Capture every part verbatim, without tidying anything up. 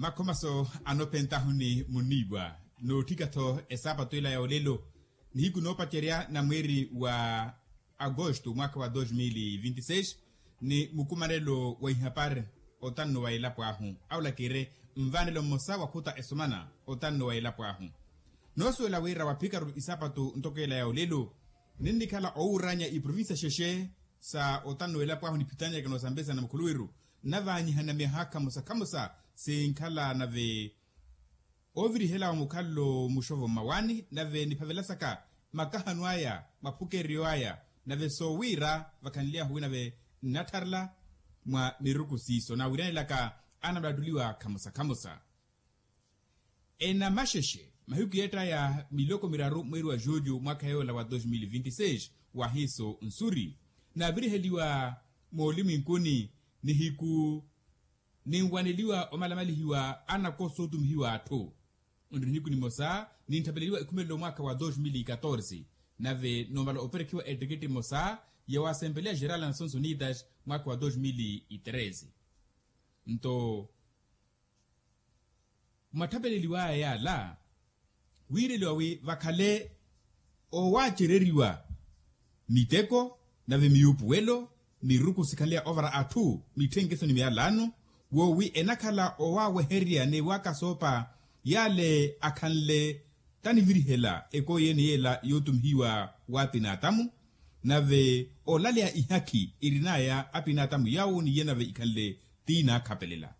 Makhomaso anophentahu ni muniiwa nootthika-tho esaapatu ela ya olelo, nihiku noopacerya na mweeri wa agosto mwaakha wa dos mil e vinte e seis, ni mukumanelo wa ihapari otanno wa elapo ahu aulakire nvaanelo mmosa wakhuta esomana otanno wa elapo ahu. Noosuwela wira waphikaru isaapatu ntoko ela ya olelo ninnikhala owuuranya iprovincia xexe sa otanno wa elapo ahu niphitanyaka noosambesana mukhuluwiru, navaanyihana myaha khamosa khamosa sinkhala nave ovirihela wa mukhalelo muxovo mmawaani nave niphavelasaka makahano aya maphukeryo aya, nave soowiira vakhanly'ahu wi nave nnattharela mwa miruku siiso naawiryanelaka anamulattoliwa khamosa khamosa. Enamaxexe mahiku yeettaya miloko miraru mweeri wa julho mwaakha yoola wa dos mil e vinte e seis, waahiiso nsuri naaviriheliwa moolimwinkuni nihiku ninwaneliwa omalamalihiwa anakoso ootumihiwa atthu. Onri nihiku nimosa nintthapeleliwa ekhumelelo mwaakha wa dos mil e catorze, nave noomala operekhiwa ettekette emosa ya wa assembleya geral a nações unidas mwaakha wa dos mil e treze. Nto mwatthapeleliwaya yaala wiireliwa wi vakhale owaacereriwa miteko nave miyuupuwelo miruku sikhanleya ovara atthu mitthenkeso ni miyalano, woowi enakhala owaawehererya ni waakasoopa yaale akhanle tanivirihela ekooyi ene yeela yootumihiwa w'apinaatamu, nave olaleya ihakhi irin'aya apinaatamu yaawo ni iye nave ikhanle tiinaakhapelela.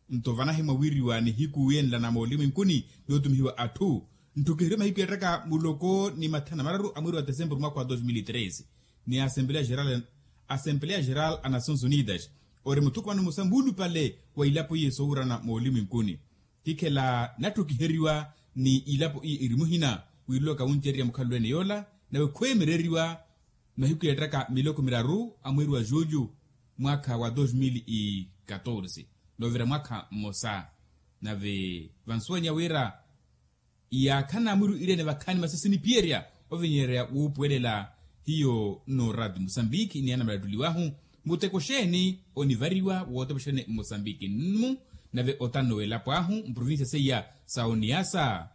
Nto vanahimwa wiiriwa nihiku yenla na moolimwinkuni nootumihiwa atthu ntthu kihiri mahiku yeettaka muloko ni mathana mararu a mweeri wa tesempuru mwaakha wa dos mil e treze, ni assembleya geral a nações unidas ori muthukumano mmosa muulupale wa ilapo iye soowurana moolimwinkuni. Kikhela natthukiheriwa ni ilapo iye iri muhina wiireliwaka wuncererya mukhalelo ene yoola, nave khweemereriwa mahiku yeettaka miloko miraru a mweeri wa julho mwaakha wa dos mil e catorze, noovira mwaakha mmosa. Nave vansuwanya wira yaakhana mwiru ireene vakhaani masasi niphiyerya ovinyererya wuupuwelela hiyo nno raati musambiki ni anamalattoliwahu, muteko xeeni onivariwa wootepexerene mmosambiki nnu nave otanno w'elapo ahu mprovincia seiya sa oniyasa,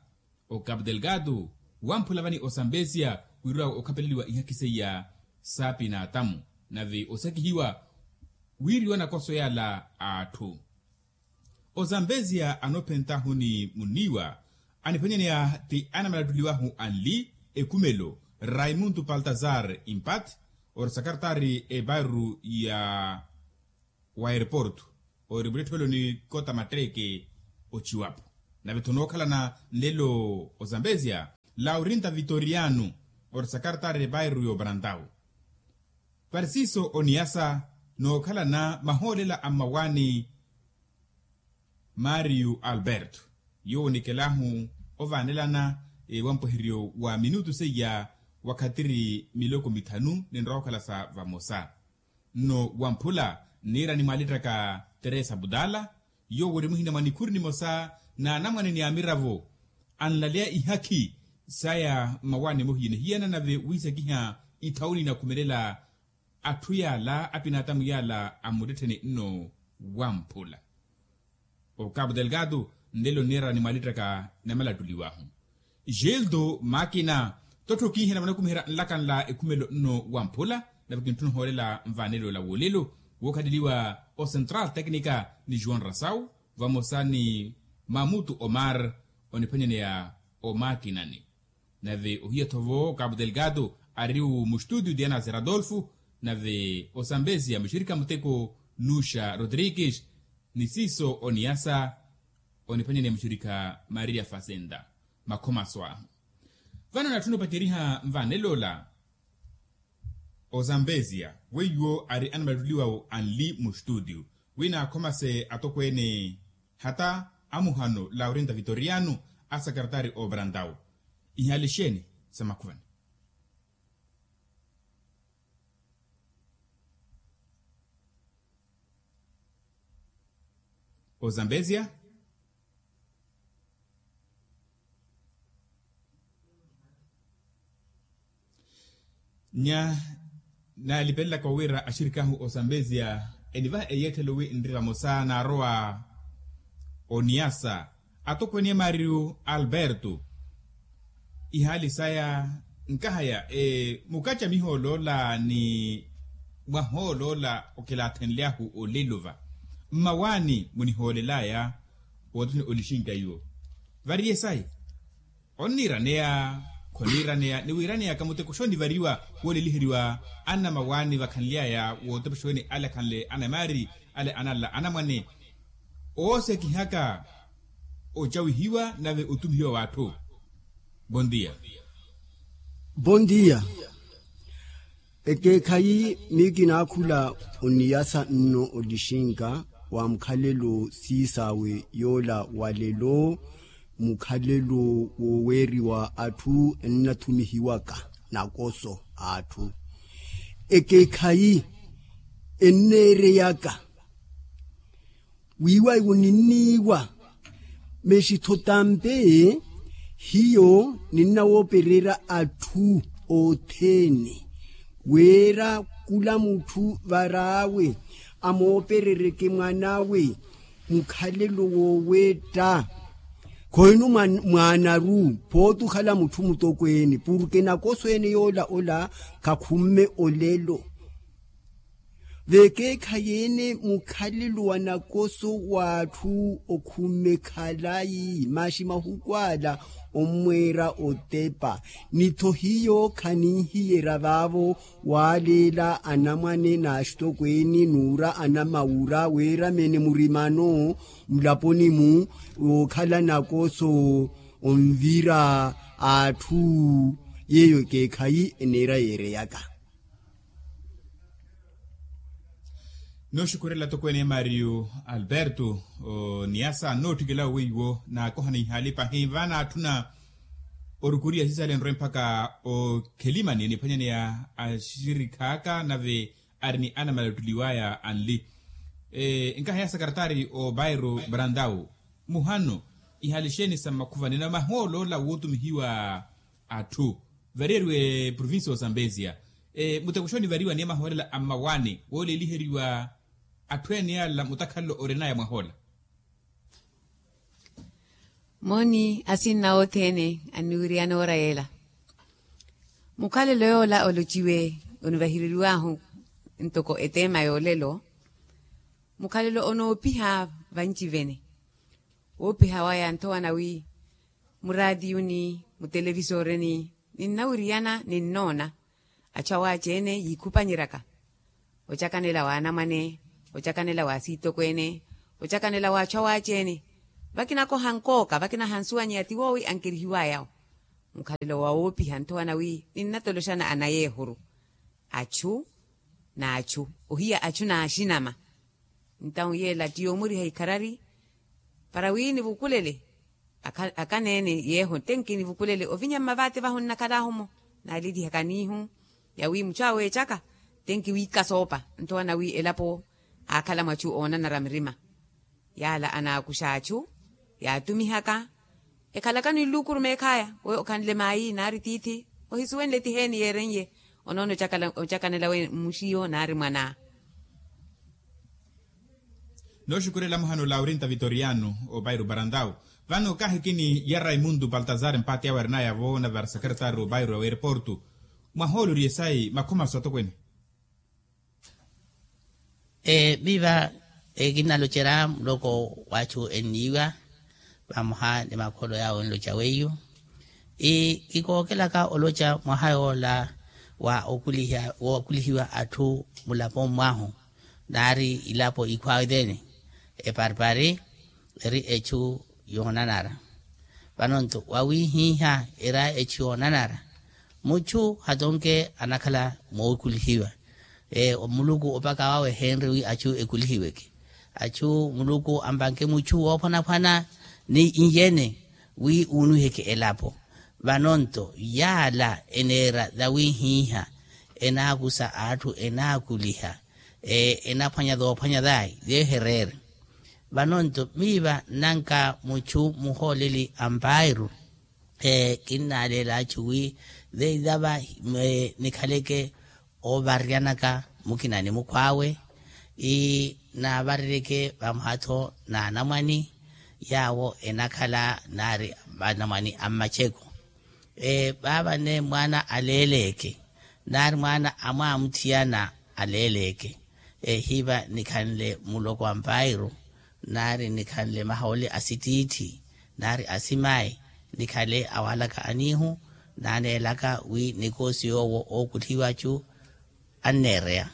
ocapu delgado, wamphula vani osambezia wiireliwa okhapeleliwa ihakhi seiya saapinaatamu, nave osakihiwa wiiriwa nakoso yaala a atthu. Osambezia anophentahu ni muniiwa aniphwanyaneya ti anamalattoliwahu anli ekhumelo raimundo paltazar impat, ori sakartaari ebairuru ya wa aeroporto, ori muttetthiwelo ni kota matteeke ochiwapo. Nave-tho nookhalana nlelo ozambezia laurinta vitoriano, ori sakartaari ebairuru y'oparantau. Parisiso oniyasa nookhalana mahoolela a mmawaani, mario alberto, yoowo onikelahu ovaanelana wampweheryo wa minutu seiya wakhatiri miloko mithanu ninrowa okhala sa vamosa. Nno wamphula nniira nimwaalittaka teresa budala, yoowo ori muhina mwa nikhuri nimosa n'anamwane ni amiravo anlaleya ihakhi saya mmawaani mohiyanehiyana nave wiisakiha ithawuni inakhumelela atthu yaala apinaatamu yaala a mmuttettheni nno wamphula. Okapu delgado nlelo nniira nimwaalittaka namalattuliwahu. Gildo makina tottho kiihana vanakumiherya nlakanla ekhumelo nno wamphula, nave kintthuna ohoolela nvaanelo la woolelo wookhaleliwa o central tecnica ni juan rasau vamosa ni mamutu omar oniphwanyaneya omakinani. Nave ohiya-tho vo okapu delgado ariwu mustudio diana zeradolfo, nave osambezia muxirikha muteko nuxa rodrigues, ni siiso oniyasa oniphwanyaneya muxirikha maria fazenda. Makhomaso ahu vano natthuna opaceryiha nvaanelo ola. Ozambezia weiwo ari anamalattuliwawo anli mustudio wi naakhomase atokweene hata amuhano laurinta vitoriano a sakartari obrantau. Ihaali xeeni sa makhuvani? Ozambezia nya naalipelelaka wira axirik'ahu ozambezia enivaha eyeetthelo wi nri vamosa naarowa Oniyasa atokweene maariyu alberto. Ihaali saya nkahaya mukaca mihooloola ni mwahooloola okilaathenly'ahu olelo va mmawaani munihoolel'aya. Wootthuni olixinka iwo variye sayi onniiraneya khoniiraneya ni wiiraneyaka muteko xonivariwa wooleliheriwa anamawaani vakhanly'aya wootepa xoni ale akhanle anamaari ale anala anamwane oosekihaka ocawihiwa nave otumihiwa w'atthu. Bondia. Bondia. Ekeekhayi miyo kinaakhula oniyasa nno olixinka wa mukhalelo siisaawe yoola wa lelo mukhalelo wooweeriwa atthu ennathumihiwaka nakoso a atthu. Ekeekhayi enneereyaka wiiwa iwo ninniiwa mexitho tampe hiyo ninnawoopererya atthu othene wira kula mutthu var'awe amooperereke mwanawe mukhalelo woowetta. Khohinu mwaanaru phooti okhala mutthu mutokweene purke nakoso ene yoola ola khakhumme olelo. Vekeekhayi ene mukhalelo wa nakoso w'atthu okhumme khalayi maxi mahuku ala ommweera otepa ni-tho hiyo khaninhiyerya vaavo waaleela anamwane n'axitokweene n'ura anamawura weeramene murimano mulaponi-mu wookhala nakoso onvira atthu. Yeeyo ekeekhayi eneera yeereyaka. Nooxukhurela tokweene mario alberto oniyasa nootthikela weiwo naakoha na ihaali pahi vaana atthuna orukuriya sisale nrwe mpakha okhelimani eniphwanyaneya axirikhaaka nave ari ni anamalattuliw'aya anli. Nkaha ya sakaratari o bairo brandau muhano ihaali xeeni sa mmakhuva nina mahooloola wootumihiwa atthu variyeriwe provincia o sambesia muteko xonivariwa ni amahoolela a mmawaani wooleliheriwa atthu ene yaala mutakhalelo orinaya mwahoola. Mooni asinna othene anniwiriyana oora yeela mukhalelo yoola olociwe onivahireriw'ahu ntoko eteema y'olelo mukhalelo onoopiha vancivene woopiha waya nthowa nawi muraatiyuni mutelevisoreni ninnawiriyana ninnoona achu awaaci-ene yiikhupanyeryaka ocakanela w'anamwane ocakanela w'asiitokweene ocakanela w'achu awaaci-ene vakinakoha nkooka vakinahansuwanyeya ti woowi ankerihiw'aya-wo mukhalelo wa woopiha nthowa nawi ninnatoloxana anayi ehuru achu n'achu ohiya achu n'axinama ntawu yeela ti yoomuriha ikharari para wi nivukulele akana-ene yeeho tenki nivukulele ovinya mmavaati vahu nnakhal'ahu-mo naalilihaka niihu ya wi muchu aweecaka tenki wiika soopa nthowa nawi elapo aakhala mwachu oonanara mirima yaala anaakuxa achu yaatumihaka ekhalaka ni nluukurume ekhaya we okhanle maayi naari tiithi ohisuwenle tiheeni yeeren'ye onoona ocakanela we mmuxiyo naari mwanaa. Nooxukurela muhano laurinta vitoriano o bairo barantau vano kaahikini ya raimundo baltazar mpaati awe arinaya-vo na varsecretary o bairo ya wereporto mwahooloriye sayi makhomaso atokwene. Miiva kinnalocerya muloko w'achu enniiwa vamoha ni makholo yaawo enloca weiyo kikookelaka oloca mwaha yoola wa okulihiwa atthu mulaponi mwahu naari ilapo ikhwaawe thene eparipari eri echu yoonanara vano-nto wawihiha era echu yoonanara muchu hatonke anakhala mookulihiwa muluku opaka wawe eheenre wi achu ekulihiweke achu muluku ampanke muchu woophwanaphwana ni iyene wi uunwiheke elapo vano-nto yaala eneera thawihiha enaakusa atthu enaakuliha enaphwanya thoophwanya thayi yeehereere vano-nto miiva nnanka muchu muhooleli ampairu kinnaleela achu wi veithava nikhaleke oovaryanaka mukina ni mukhwaawe naavarereke vamoha-tho n'anamwani Yaawo enakhala naari anamwani a mmaceko. Vaavane mwaana aleeleeke, naari mwaana amwaamutthiyana aleeleeke. Hiiva nikhanle muloko a mpairu, naari nikhanle mahooli a sittiitthi, naari asimayi, nikhale awaalaka aniihu, naaneelaka wi nikoosi yoowo ookutthiwa achu anneereya.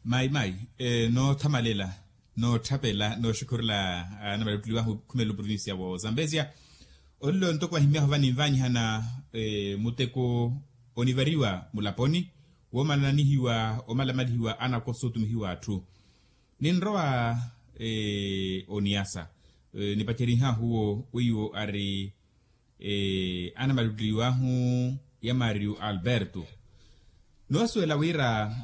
Mayi mayi, noothamalela, nootthapelela nooxukhurela, anamalettuli wahu khumelo provincia wa zambezia. Olelo ntoko vahimyahu vaninvanyihana muteko onivariwa mulaponi, woomalanihiwa omalamalihiwa anakoso otumihiwa atthu. Ninrowa oniyasa, nipacerihahu owo weiwo ari anamalettuli wahu ya mario alberto. Noosuwela wira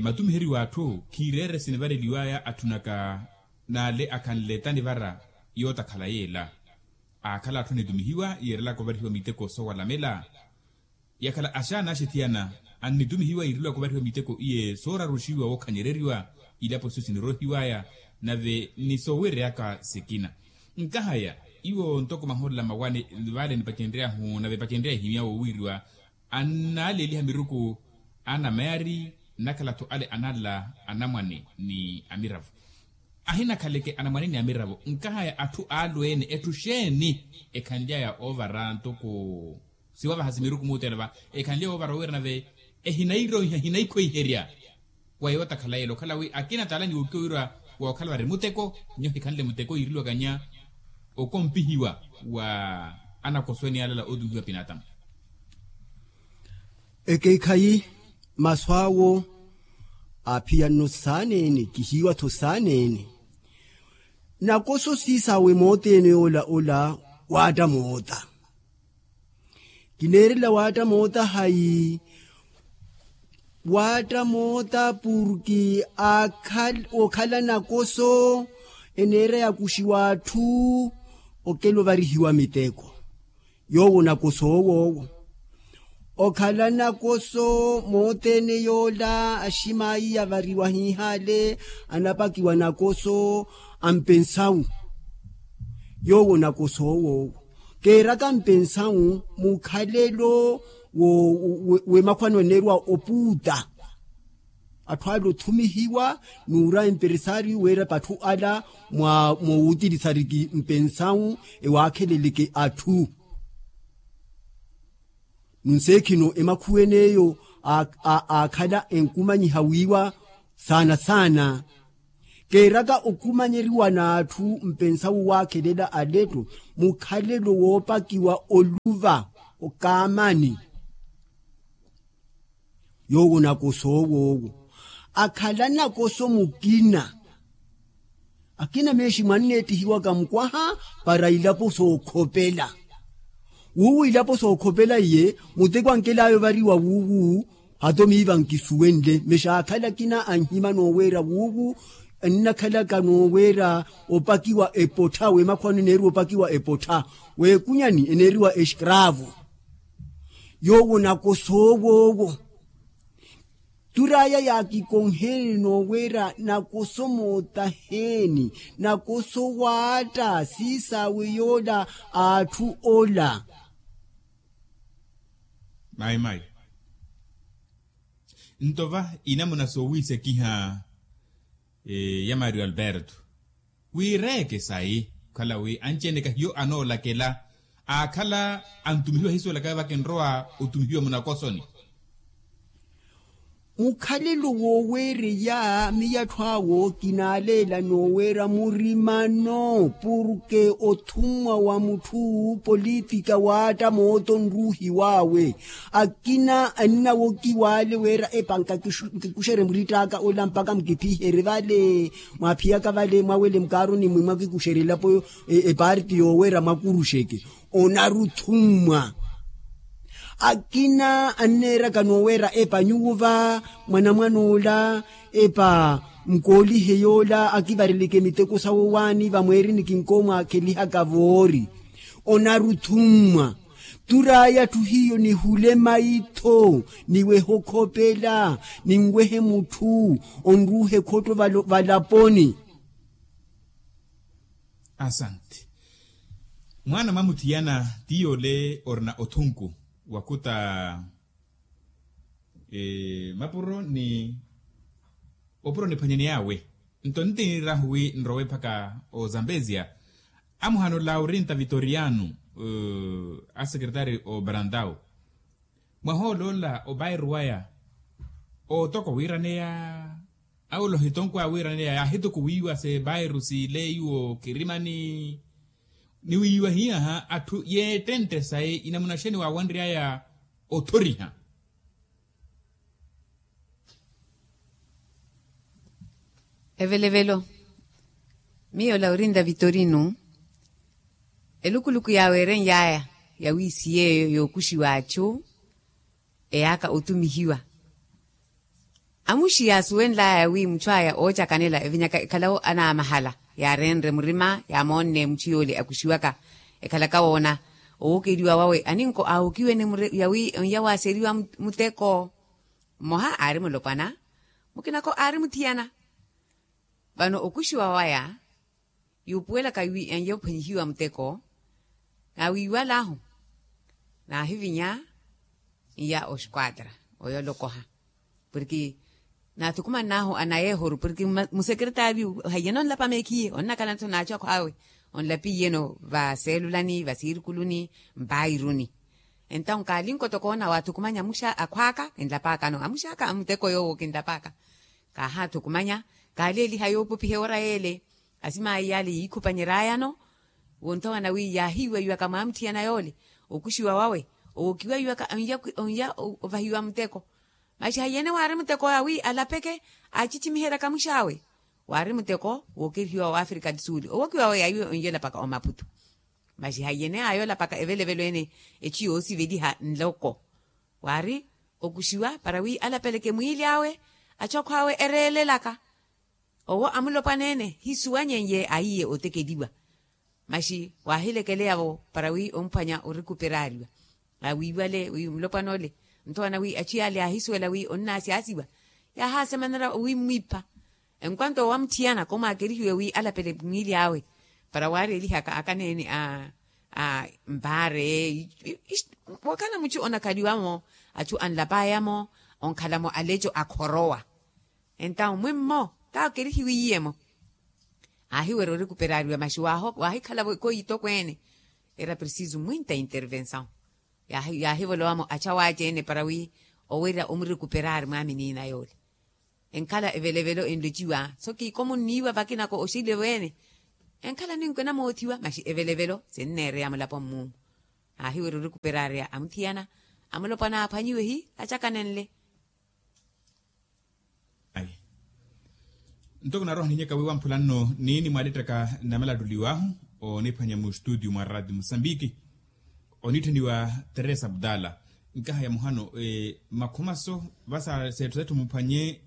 matumiheriwa atthu khiireere sinivareliwaya atthunaka n'ale akhanle tanivara yootakhala yeela. Aakhala atthu anitumihiwa yiirelaka ovarihiwa miteko soowalamela. Yakhala axaana axithiyana annitumihiwa yiirelaka ovarihiwa miteko iye sooraruxiwa wookhanyereriwa. Ilapo siyo sinirohiwaya nave ni sooweereyaka sikina. Nkahaya iwo ntoko maholela mawane vale nipacenryahu nave epacenrya ehimya woowiriwa. Annaaleeliha miruku anameeri nnakhala-tho ale anala anamwane ni amiravo. Ahinakhaleke anamwane ni amiravo nkahaya atthu alweene etthu xeeni ekhanlyaya oovara ntoko siwavaha simiruku muutela va ekhanlyaya oovara owiira nave ehinairooiha ehinaikhweiherya. Wa yootakhala yeela okhala wi akina taala niwuukiwa wira wookhala vari muteko nyo hikhanle muteko yiireliwakanya okompihiwa wa anakosweni alala ootumihiwa pinaatamu. Ekeekhayi masu awo aaphiya nno saaneene kihiiwa-tho saaneene. Nakoso siisawe mooteene yoola ola waatta moota. Kineerela waatta moota hayi? Waatta moota purki okhala nakoso eneera yakuxiwa atthu okela ovarihiwa miteko. Yoowo nakoso owoowo okhala nakoso moothene yoola aximaayi yavariwa hiihaale anapakiwa nakoso a mpensawu. Yoowo nakoso owoowo keeraka mpensawu mukhalelo w'emakhwano eneeriwa opuuta. Atthu ale othumihiwa n'ura emperesaariyu weera patthu ala mwa mowuutirisariki mpensawu ewaakheleleke atthu. Nunseekhino emakhuwene eyo aakhala enkumanyiha wiiwa saana saana. Keeraka okumanyeriwa n'atthu mpensawu waakhelela aletto mukhalelo woopakiwa oluva okaamani. Yoowo nakoso owoowo akhala nakoso mukina. Akina meeximu anneettihiwaka mukwaha para ilapo sookhopela. Wuuwu ilapo sookhopela iye muteko ankelaya ovariwa wuuwu. Hata omiiva nkisuwenle meexa aakhala akina anhima nooweera wuuwu ennakhalaka nooweera opakiwa epottha w'emakhwano eneeriwa opakiwa epottha w'ekunyani eneeriwa excravo. Yoowo nakoso owoowo turaya yaakikonheeni nooweera nakoso mootaheeni nakoso waatta siisaawe yoola a atthu ola. Mayi mayi. Nto va inamuna soowiisekiha ya mario alberto wiireeke sayi okhala wi anci-ene kahiyo anoolakela aakhala antumihiwa ahiisuwelaka vava kinrowa otumihiwa munakosoni. Mukhalelo wooweereya miyattho awo kinaaleela nooweera murimano purke othummwa wa mutthu politika waatta mooto nruuhiw'awe. Akina annawokiwa ale weera epa nkikuxerye muritt'aka ola mpakha mukiphiherye vale mwaaphiyaka vale mwawele mukaaroni mwi mwakikuxerye elapo epaarti yooweera mwakuruxeke. Onaruthummwa akina anneeraka nooweera epa nyuwo va mwanamwan'ola epa nkoolihe yoola akivareleke miteko sawo waani vamweerini kinkoomwaakhelihaka voori. Onaruthummwa turaya atthu hiyo nihule maitho niwehe okhopela ninwehe mutthu onruuhe khotto valaponi. Asanti. Mwaana mwamuthiyana ti yoole orina othunku wakuta mapuro ni opuro niphwanyaney'awe. Nto ntinirahu wi nrowe mpakha ozambezia amuhano laurinta vitoriano, asekretari obarantau mwahooloola obairu waya ootoko wiiraneya. Awula ohitonkw'awe wiiraneya yaahitukuwiwa se bairu siile iwo kirimani. Ni wiiwa hiyaha atthu yeettentte sayi inamunaxeni waawanry'aya othoriha. Evelevelo miyo laurinda vitorino elukuluku yaaweerenly'aya yawi si yeeyo yookuxiwa achu eyaaka otumihiwa. Amuxi yaasuwenl'aya wi muchu aya oocakanela evinyaka ekhalawo anaamahala yaareenre murima yaamoonne muchu yoole akuxiwaka ekhalaka woona owookeriwa wawe aninko aawokiwene yawi onya waaseriwa muteko. Mmoha aari mulopwana mukinako aari muthiyana. Vano okuxiwa waya yuupuwelaka wi enye ophwanyihiwa muteko naawiiwal'ahu naahivinya iya oxquatra oyo olokoha. Porke naathukumann'ahu anayeehoru porke musekretariyu haiyana onlapa meekhiye onnakhala-tho n'achu akhw'awe onlapiye-no vaseelulani vasiirikuluni mpairuni. Entawu nkaalinko tokoona waathukumanya amuxa akhw'aka kinlap'aka-no amux'aka a muteko yoowo kinlap'aka. Kaahaathukumanya kaaleeliha yoopopiha ewora yeele. Asim'ayi yaale yiikhupanyer'aya-no wonthowana wi yaahiiweiwaka mwaamuthiyana yoole okuxiwa wawe owokiweiwaka onya ovahiwa muteko. Maxi haiyene waari muteko yawi alapeke aacicimiheryaka mux'awe waari muteko wookerihiwa wa afrika du sul owokiwawe yawi onye olapaka omaputu. Maxi haiyene aaya olapaka evelevelo ene echu yoosiveliha nloko waari okuxiwa para wi alapeleke mwiili awe achu akhw'awe ereelelaka. Owo amulopwana ene hisuwanyeiye aiye otekeliwa. Maxi waahilekeleya-vo para wi omphwanya orikuperaariwa awiiwale wi mulopwana ole nthowana wi achu yaale yaahisuwela wi onnaasyasiwa. Yaahaasemanera owimmwipha enkwanto owamuthiyana komwaakerihiwe wi alapele mwiili awe para waareelihaka akaneene a mpaare. Wookhala muchu onakhaliwa-mo achu anlapaya-mo onkhala-mo alecho akhorowa. Entawu mwimmo taakerihiwiye-mo aahiwerya orikuperaariwa maxi waahikhala-vo ekhoyi tokweene era preciso mwinta intervensawu. Yaahivolowa-mo achu awaaci-ene para wi owerya omurikuperaari mwaaminiina yoole enkhala evelevelo enlociwa so kiikomunniiwa vakinako oxile-vo ene enkhala ninkwena moothiwa maxi evelevelo sinneereya mulapo mmuumu. Aahiwerya orikuperaariya amuthiyana amulopwana aaphwanyiwe hi acakanenle. Ayi ntoko naroha ninyaka wi wamphula nno niini mwaalettaka namalattuliw'ahu oniphwanya mustutio mwa ratio musambiki onitthaniwa teresa abdala. Nkahaya muhano makhumaso vasa setthu setthu muphwanye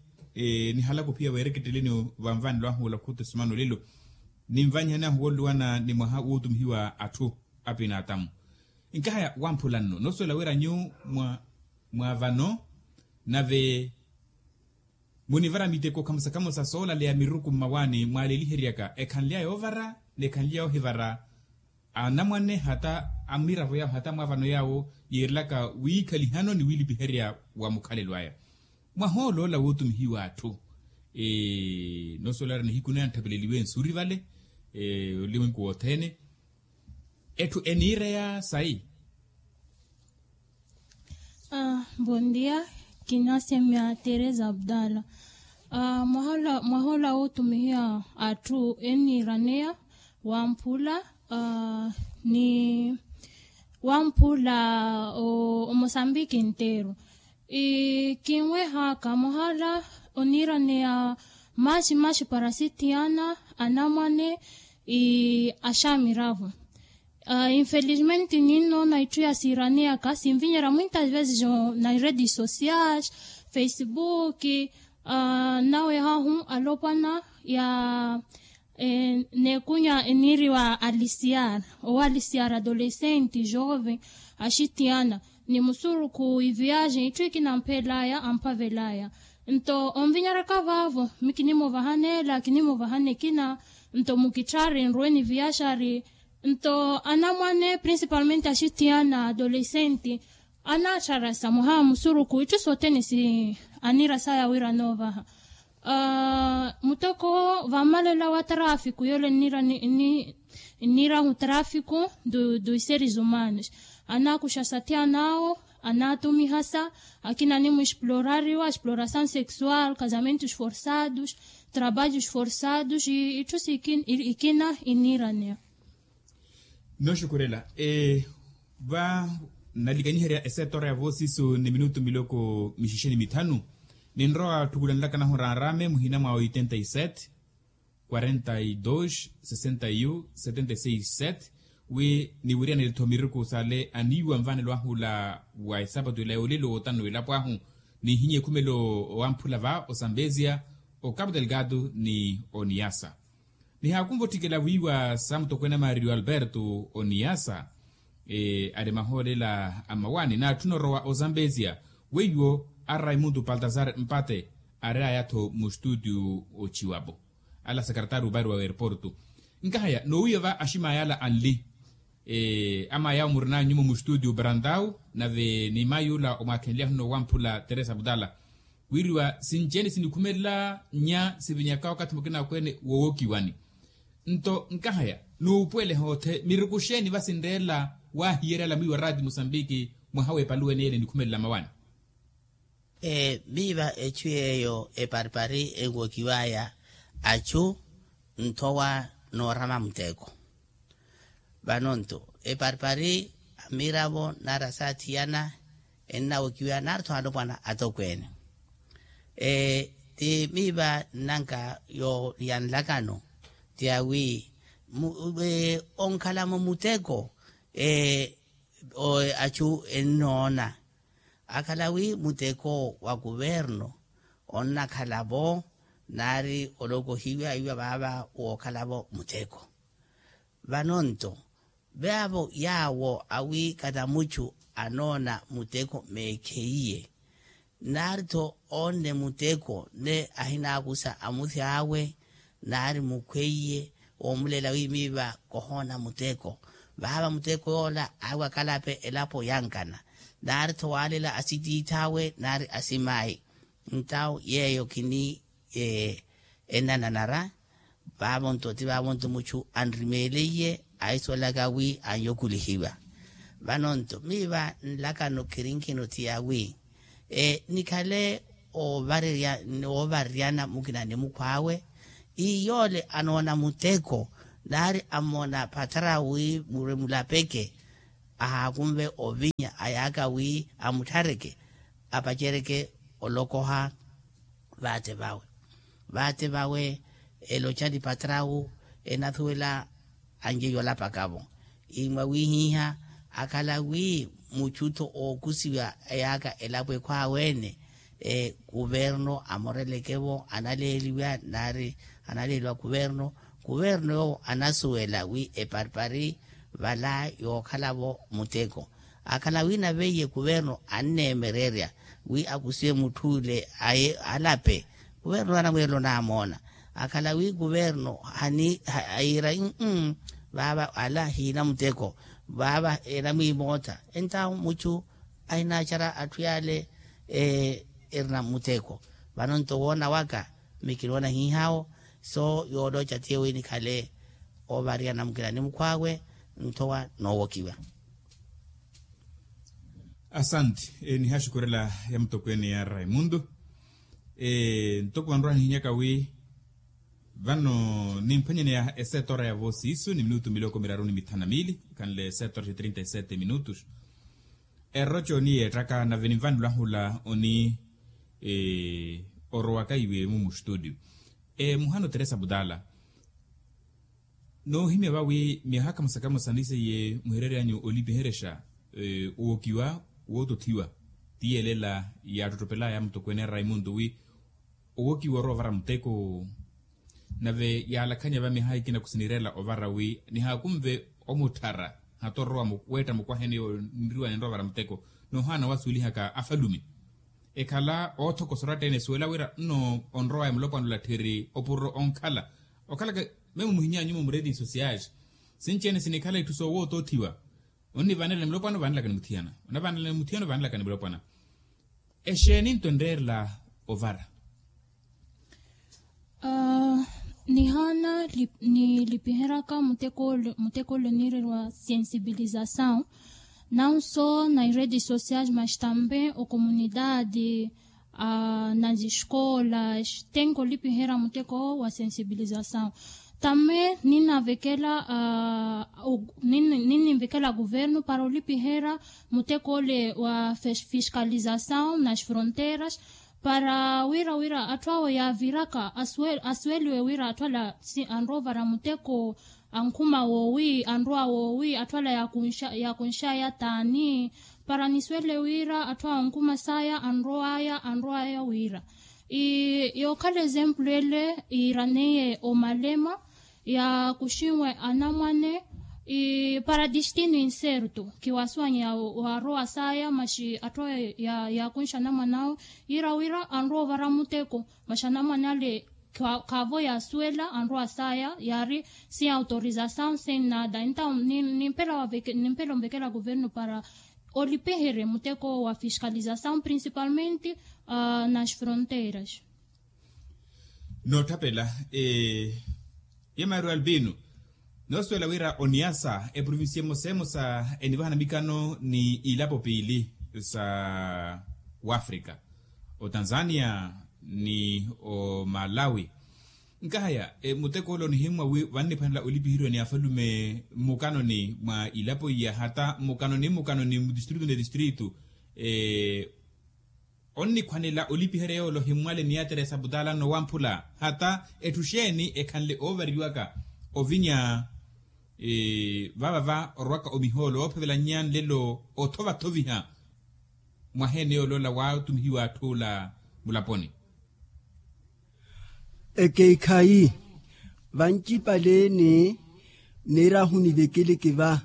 nihalaka ophiya weereketteleni vanvanelo ahu olakhuta osumana olelo ninvanyihani ahu wooluwana ni mwaha wootumihiwa atthu apinaatamu. Nkahaya wamphula nno noosuwela wira nyu mwa vano nave munivara miteko khamusa khamusa soolaleya miruku mmawaani mwaaleliheryaka ekhanly'aya yoovara n'ekhanly'aya yoohivara anamwane hata amiravo yaawo hata mwaavano yaawo yiirelaka wiikhalihano ni wiilipiherya wa mukhalelo aya. Mwahooloola wootumihiwa atthu noosuwela wira nihiku naya ntthapeleliwe nsuri vale olimiku wothene etthu eniireya sayi. Bondia kinasemya teresa abdala. Mwahola mwahola wootumihiya atthu eniiraneya wamphula ni wamphula omosambiki nteru. Kinwehaka mwahola oniiraneya maxi maxi para asithiyana anamwane axamiravo. Infelizmente ninnoona itthu yasiiraneyaka sinvinyerya mwinta vezi na redes sociais, facebook, nawe hahu alopwana ya neekunya eniiriwa alisiar owo alisiar adolescente joven axitiyana ni musurukhu iviaje itthu ikina amphelaya amphavelaya. Nto onvinyaraka vaavo mi kinimuvahana ela kinimuvahana ekina. Nto mukitthari nruwe ni viyaxari. Nto anamwane principalmente axitiyana adolescente anatthara sa mwaha musuruku itthu sothene si anira saya wira anoovaha. Muteko vammalela wa trafiku yole nnira nnira hu trafiku du iseri zumanos. Anakuxa sathiyanaawo anatumihasa akina animwexplorariwa explorasaw sexual casamentos forsados trabalhos forsados itthu sikina ikina iniraneya. Noxukurela va nalikanyiherya esetora ya voosisu ni minutu miloko mixixeni mithanu. Ninrowa thukulanlaka nahurarame muhina mwa oitenta y sete quarenta y dos sesenta y un setenta y seis sete. Wi niwiryanele-tho miriku sale aniiwa nvanelo ahula wa esapatu ela yoolelo wootanu elapo ahu nihinye ekhumelo owamphula va osambezia okapu delgado ni oniyasa. Nihaakunva otthikela wiiwa sa mutokwene a mario alberto oniyasa ari mahoolela a mmawaani naatthuna orowa ozambezia weiwo a raimundo paltazar mpate ari aya-tho mustutiu ochiwapo ala sekaretari opari wa aeroporto. Nkahaya noowiiwa va aximaya ala anli amaya omurina nyumo mustutiu brandau nave ni mayula omwakhenlyahuni owamphula teresa abdala wiriwa sinci-ene sinikhumelela nya sivinyaka wakathi mukina akweene woowokiwani. Nto nkahaya nuupuwele hoothe miriku xeeni vasinreela waahiyeryala mwiiwa raati musambiki mwaha w'epaluwene yene enikhumelela mawani. Miiva echu yeeyo eparipari enwokiwaya achu nthowa noorama muteko. Vano nto eparipari amiravo nari asaathiyana ennawokiwaya nari tho alopwana atokweene. Ti miiva nnanka ya nlakano ti awi onkhalamo muteko achu ennoona akhala wi muteko wa kuverno onnakhala-vo nari olokohiwa iwa vaava wookhala-vo muteko. Vano nto vaavo yaawo awi kata muchu anoona muteko meekheiye nari-tho oonne muteko ne ahinaakusa amuthi awe nari mukhweiye woomuleela wi miiva kohoona muteko. Vaava muteko yoola awi akalape elapo yankana nari-tho waalela asitiith'awe nari asimayi. Ntawo yeeyo khini ennananara. Vaavo nto ti vaavo nto muchu anrimeeleiye ahisuwelaka wi anyokulihiwa. Vano nto miiva nlakano khirinkino ti awi nikhale oovareryana mukina ni mukhw'awe. Iyoole anoona muteko nari ammona phathara wi muremulapeke ahaakunve ovinya ayaaka wi amutthareke apacereke olokoha. Vaate vawe vaate vawe eloca ni patrawu enathuwela anjeyo olapaka-vo. Imwa wihiha akhala wi muchu-tho ookusiwa eyaaka elapo ekhwaawe-ene kuverno amoreleke-vo analeeliwa nari analeeliwa kuverno. Kuverno yoowo anasuwela wi eparipari vala yookhala-vo muteko. Akhala wi naveiye kuverno anneemererya wi akusiwe mutth'ule alape kuverno anamwiirela onaamoona. Akhala wi kuverno ahiira vaava ala hiina muteko vaava enamwiimootha. Entawo muchu ahinaacara atthu yaale erina muteko. Vano nto woona waka mikinoona hiihaawo so yoolooca tiye wi nikhale oovariana mukina ni mukhw'awe nthowa noowokiwa. Asante. Nihaxukurela ya mutokweene ya raimundo. Ntoko vanrwa nihinyaka wi vano nimphwanyaneya esetora ya voosiisu ni minutu miloko miraru ni mithanu na miili ikhanle esetora xa trinta y sete minutus. Erroco oniyeettaka nave ninvanelo ahula oni orowaka iwe mu mustudio. Muhano teresa butala noohimya vawi myaha kamosa kamosa niseiye muhireeryanyu olipiherexa owokiwa wootothiwa ti yelela yaattottopelaya mutokweene raimundo wi owokiwa orowa ovara muteko. Nave yaalakhanya va myaha ikina khusinirela ovara wi nihaakunve omutthara hata orowa weetta mukwaheni nriwa ninrowa ovara muteko. Nohaana wasuwelihaka afalume Ekhala oothokosa oratta-ene esuwela wira nno onrowaya mulopwana olattheri opuro onkhala okhalaka memu muhinyanyumo muredio sosiali. Sinci-ene sinikhala itthu soowootothiwa. Onnivanela ni mulopwana ovanelaka ni muthiyana. Onavanela ni muthiyana ovanelaka ni mulopwana. Exeeni nto enreerela ovara? Nihaana nilipiheraka muteko ole oniireriwa sensibilizasaw. Nawu so na iredes sosiais mas tambe okomunidadi, nas eskolas tenke olipihera muteko wa sensibilizasaw. Tambe ninavekela ninivekela guvernu para olipihera muteko ole wa fiskalizasaw nas fronteras, para wira wira atthu awo yaaviraka asuweliwe wira atthu ala anrowa ovara muteko ankhuma woowi anrowa woowi atthu ala yaakunxaya taani. Para nisuwele wira atthu awo ankuma saya anrowaya anrowaya wira yookhala ezempulu ele iiraneiye omalema yaakuxiwe anamwane para destino inserto kiwasuwanya waarowa saya maxi atthu awo yaakunxa anamwane awo yira wira anrowa ovara muteko maxi anamwane ale khaavo yaasuwela anrowa saya yaari sin autorizasaw sin nada entaw nimpela onvekela guvernu para olipiherye muteko wa fiskalizasaw principalmente nas fronteiras. Nootthapela yemaaru albino noosuwela wira oniasa eprovincia emosa emosa enivahana mikano ni ilapo piili sa wafrika otanzania ni omalawi. Nkahaya muteko ole onihimmwa wi vanniphwanela olipiheriwa ni afalume mmukanoni mwa ilapo iya hata mmukanoni mmukanoni mutistritu ni tistritu onnikhwanela olipiherya yoole ohimmwale miyatere sa putaala nowamphula hata etthu xeeni ekhanle oovariwaka ovinya vavava orwaka omihoolo oophevelanya nlelo othovathoviha mwaheene yoole ola waatumihiwa atthu ola mulaponi. Ekeikhayi vancipaleene neerahu nivekeleke va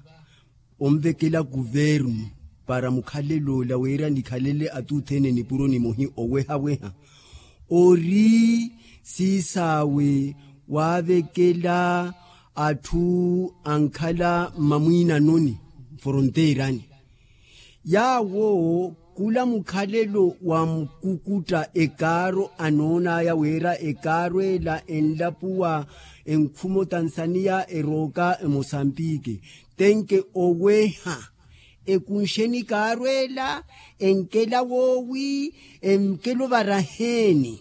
onvekela kuvernu para mukhalelo ola wira nikhalele atuthene nipuro nimohi owehaweha ori siisaawe waavekela atthu ankhala mmamwiinanoni mforonteerani yaawo khula mukhalelo wa mukukutta ekaaro anoon'aya wira ekaaro ela enlapuwa enkhuma otansaniya erooka emosambike tenke oweha ekunxeni ekaaro ela enkela woowi enkela ovaraheeni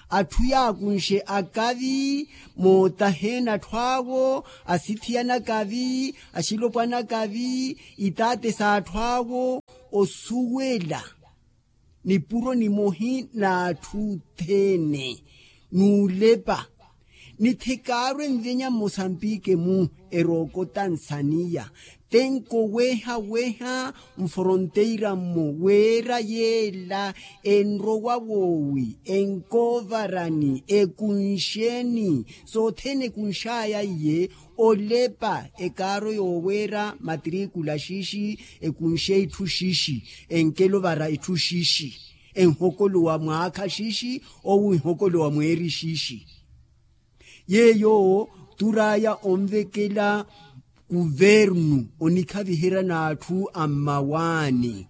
atthu yaakunxe akavi mootaheeni atthu awo asithiyana akavi axilopwana akavi itaate s'atthu awo osuwela nipuro nimohi n'atthu othene n'ulepa nithekaaru envenya mmosambike-mu erooka otansaniya tenko weha weha mforonteira-mmo weera yeela enrowa woowi enkoovarani ekunxeni sothene ekunx'aya iye olepa ekaaro yooweera matrikula xixi ekunxe itthu xixi enkela ovara itthu xixi enhokolowa mwaakha xixi owo enhokolowa mweeri xixi yeeyo tur'aya onvekela kuvernu onikhaviherya n'atthu a mmawaani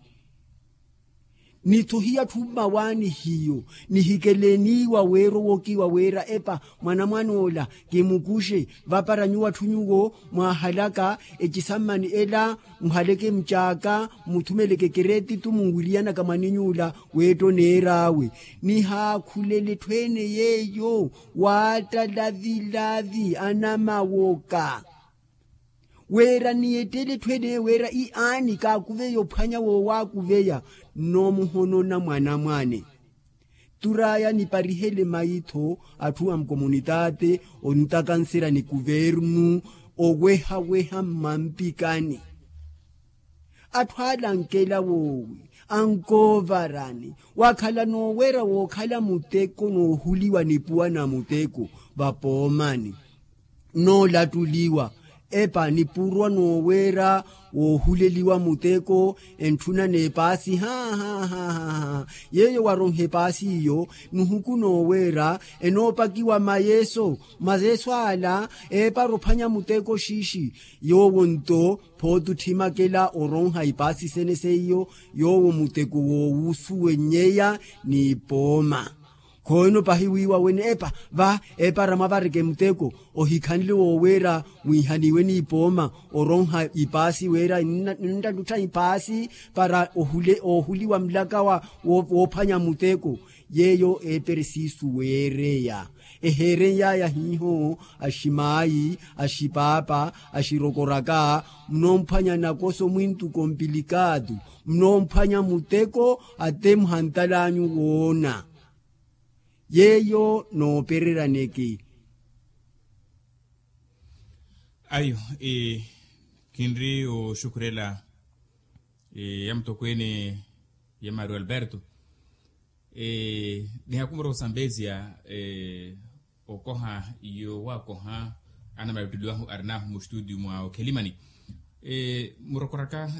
nitho hiya atthu mmawaani hiyo nihikeleniwa weera owokiwa weera epa mwanamwan'ola kimukuxe vapara nyuwo atthu nyuwo mwaahalaka ecisammani ela muhaleke mucaaka muthumeleke keretitu munwiriyanaka mwaniny'ula weetta oneer'awe nihaakhulele etthu ene yeeyo waatta lavilavi anamawoka weera niyettele etthu ene weera i aani kaakuveya ophwanya woowaakuveya nno muhonona mwanamwane tur'aya niparihele maitho atthu a mukomunitaate ontakanserya ni kuvernu owehaweha mmampikani atthu ale ankela woowi ankoovarani wakhala nooweera wookhala muteko noohuliwa nipuwa na muteko vapoomani noolattuliwa Epa nipurwa nooweera woohuleliwa muteko entthuna n'epaasi ha ha ha ha. Yeeyo waronha epaasi iyo, nuhuku nooweera enoopakiwa mayeso. Mayeso ala eepara ophwanya muteko xiixi. Yoowo nto phooti otthimakela oronha ipaasi sene seiyo, yoowo muteko woowusuwenyeya n'ipooma. Khoyeno pahi wiiwa wene epa va eepara mwavareke muteko. Ohikhanle wooweera mwihaniwe n'ipooma oronha ipaasi wira ninnattutha ipaasi para oohuliwa mulaka woophwanya muteko. Yeeyo eepere siisu weereya eheereny'aya hiiho. Aximaayi, axipaapa, axirokoraka, munoomphwanya nakoso mwintuko mpilikatu, munoomphwanya muteko ate muhantal'anyu woona. Yeeyo noopereryaneke. Ayo, khinri oxukhurela ya mutokweene ya mario alberto. Nihakumura osambezia okoha yoowakoha anamalutteliwahu arinahu mustudio mwa okhelimani. Murokoraka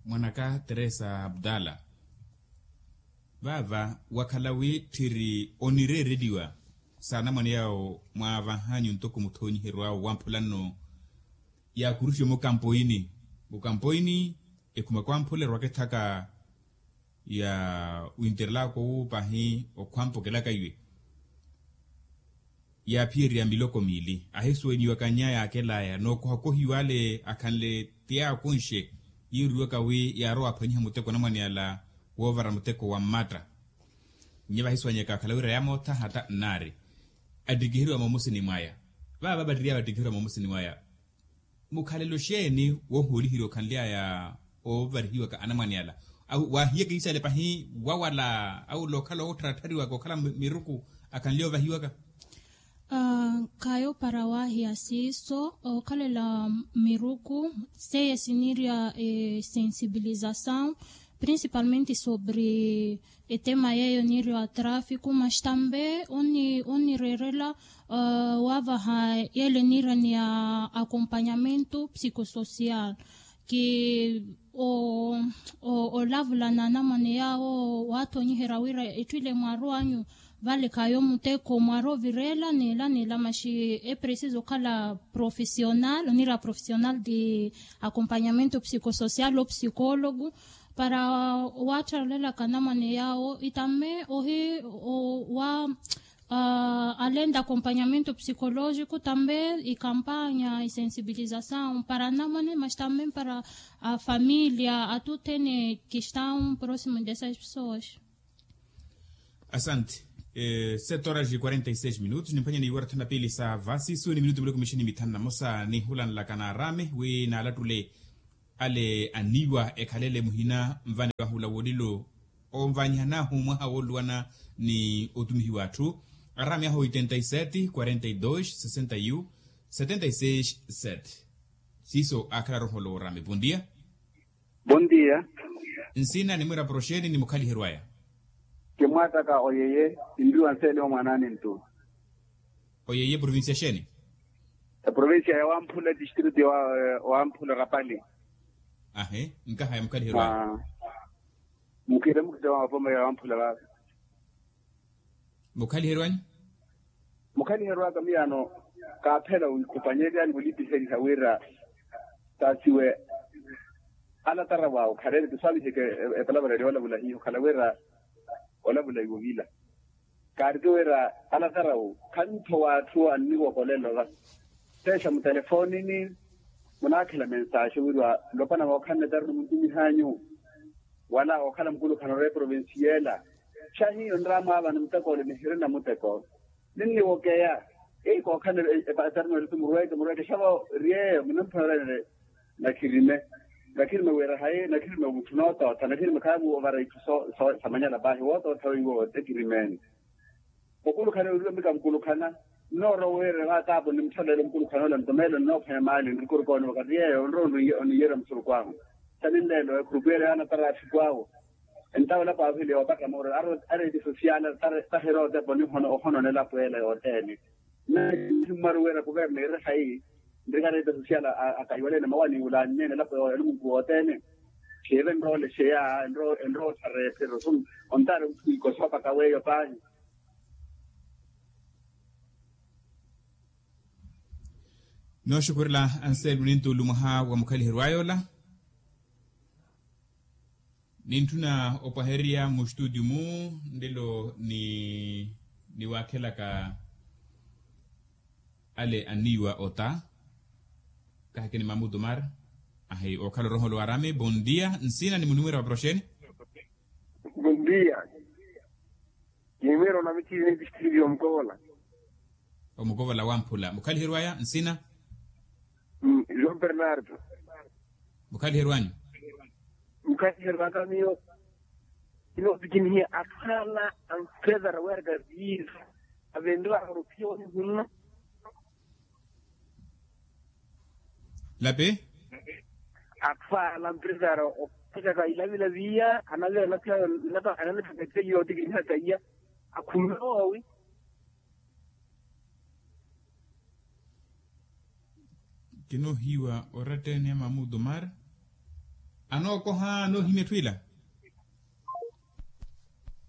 mwanaka teresa abdala. Vaava wakhala wi tthiri onireereliwa s'anamwane yawo mwaavahanyu ntoko muthoonyiheryo awo wamphula nno. Yaakuruxiwe mukampoini mukampoini ekhuma kwamphula erwaka ethaka ya winterelaka owu pahi okhwampa okelaka iwe. Yaaphiyeriya miloko miili ahisuwenyiwaka nya yaakelaya nookohakohiwa ale akhanle ti yaakunxe. Yiiriwaka wi yaarowa aphwanyiha muteko anamwane ala woovara muteko wa mmatta. Nnya vahisuwanyaka akhala wira yaamoothaha ta nnaari attikiheriwa moomusini mwaya. Vaava vattiriya vattikiheriwa moomusini mwaya mukhalelo xeeni woohooliheriwa okhanly'aya oovarihiwaka anamwane ala? Au waahiyaka iisale pahi wawala au lookhala oottharattariwaka okhala miruku akhanly'aya ovahiwaka. Khayo para waahiya siiso okhalela miruku seiye siniirya esensibilizasaw principalmente sobre etema yeeyo niirya wa trafiku mas tambe onireerela waavaha yeele niirya ni ya akompanyamento psikososiyal. Ki olavula n'anamwane yaawo waathonyiherya wira etthu ile mwaarow'anyu vale khayo muteko mwaaroovireela n'ila n'ila maxi epresiza okhala profesional oniira profesional de akompanyamento psikososiyal opsikologu para waattharelelaka anamwane yaawo itamme ohi wa alenda akompanyamento psikologiku tambe ikampanya isensibilizasaw para anamwane mas tambe para afamilia atuthene kistaw prosimo de esas pesoas. Asante. Sete horas e quarenta e seis minutos nimphwanya niiwara thanu na piili sa vasisu ni minutu miloko mixini mithanu na mosa nihulanlaka naarame wi naalattule ale aniiwa ekhalele muhina nvanivahula wolilo onvanyihanahu mwaha wooluwana ni otumihiwa atthu. Arame ahu oitenta e sete quarenta e dos sesenta e um setenta e seis sete. Siiso aakhala roholo orame bondia. Bondia. Nsina ni mwira poroxeni ni mukhaliheryo aya? Kimwaataka oyeye. Inriwa nseele omwanani ntu. Oyeye provincia xeeni? Eprovincia ya wamphula distrito ya wamphula rapali. Ahe nkaha ya mukhaliheryo aya? Mukhire mukhire wa mapoma ya wamphula vava. Mukhaliheryo anyu? Mukhaliheryo aka miyano kaaphela wikhupanyelyaani wulipiheliha wira taasiwe alatara waawe khalele tisaaviheke. Epalavela eli olavula hiyo khala wira olavula iwo vila. Kaariki wira alasarawu khantho w'atthu anniwokolela ova. Teexa mutelefonini munaakhela mensaaxi wiriwa lopana wookhanne tarino muntumih'anyu wala ookhala mukulukhana ore provinciela. Xa hiyo nraamwaavani muteko ole nihirina muteko ninniwokeya. Eyi kookhanne tarino erisi murweeke murweeke xavo ryeeyo munimphwanya orenere. Nakhirime nakhirime wira hayi nakhirime mutthu nootootha nakhirime khaamu ovara itthu samanyala paahi wootootha weiwo ekirimeeni. Okulukhana wiriwe mika mukulukhana nnoorowa wira vaataapo nimutthaleela omukulukhana ole nto meelo nnoophwanya maali nrikuruka onivaka ti yeeyo onrowa oniyerya musurukhu ahu. Saninleelo ekhuruku ele yaanatara athiku awo. Entawo elapo aaviheliya oopaka mooro areeti sosiyaali tahirotepa onihononela apweela yoothene. Nnahimmwaru wira kuverna iri hayi. Nrikareeta sosiala akahiwaleene mawaani wulaanneene alapo ya lumunku wothene. Khiive enroole xeya enroole otthareya ephiro. Ontaari otthu ikosa opaka weeyo paahi. Nooxukurela anselmo nintuulu mwaha wa mukhaliheryo ayola. Nintthuna opwahererya mustutio mu nlelo ni niwaakhelaka ale anniiwa ota. Kaheke ni mamutumar. Ahi okhala oroholo wa arami bondia nsina ni munimwira wa proxeni. Bondia. Kimwira onamitthirini pistilio mukovola. Omukovola wamphula mukhaliheryo aya nsina. João bernardo. Mukhaliheryo anyu. Mukhaliheryo aka miyo. Inoopikinihiya atthu ala amprezara weeraka viiza avendiwaka oruphiya onihunna. Lapi. Atthu ala amprezara ophwekaka ilavilavi iya anavira anapikaka etiya yootikiniha taiya. Akhumiwa wawi. Kinoohiwa orattene ya mamutumar. Anookoha anoohimya etthu ila.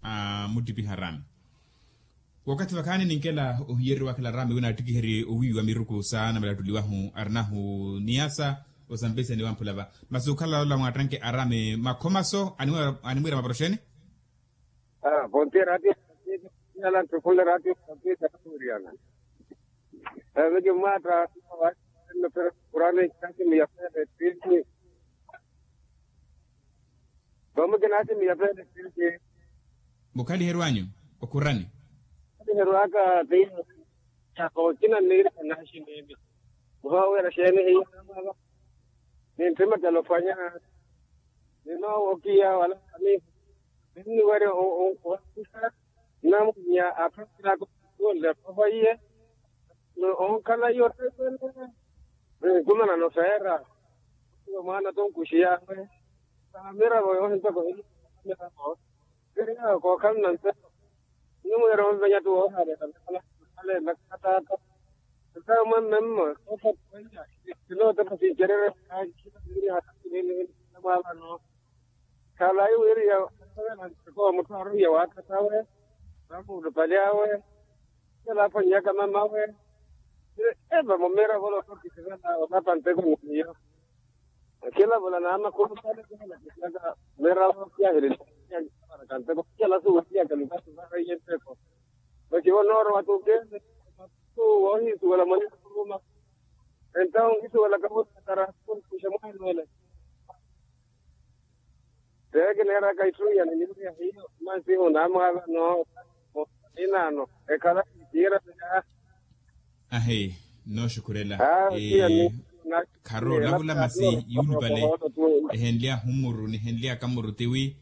Amuttipiha arami. Wakathi vakhaani ninkela ohiyereriwa akhela arami wina attikiherye owiiwa miruku saana malattuliwahu arinahu niyasa osampesa ni wamphulava masi okhala ola mwaattanke arami makhomaso animwira maproxeni. Ponti ratio ala ntukhunle ratio. Vekimwatta kurani. Kati miyafele titi. Vamukina ati miyafele titi. Mukhaliheryo anyu okhurani. Mukhaliheryo aka ti. Chaka okina nniirikha naaxi niimi. Muhawira xeeni hiya namala. Ninttima talofanya. Ninoowokiya wala kami. Ninniwerya owakusa. Namwinya aphakiraka okhunle phoho iye. Onkhala iyo ottepele. Nkumanano feera. Mwaana tonkuxiyaawe. Saha miravo yoohintoko hili. Miravo. Kookhana na nselo. Nimwiira onvenya ti woohaaleela. Khattaatta. Ntawe mwamme mmo kookhana. Sinootepa sincererye. Mwaavano. Khalayi wiriya. Nteko mutthu aruhiya waatthatthawe. Vamuulupali awe. Khela aphwanyaka mamawe. Eva mumiira volo tokisivela olapa nteko ni miyo. Khila vula naamakhulu khale khihalakisyaka. Miira vokiyahilila. Kanteko khela suweliyaka lukasi vareiye nteko. Vakivo noorowa tukele. Woohisuwela mwanikukuruma. Entawo nkisuwelaka mutatara. Kunkuxa mwaanoole. Teekineeraka itthu ya ninimuya hiyo mansihu naamwaavano. Inaano ekhala. Kiira. Ahi. Nooxukhurela. Kharola vula masi yuulupale. Ehenly'ahu mmuru nihenly'aka mmuru tiwi.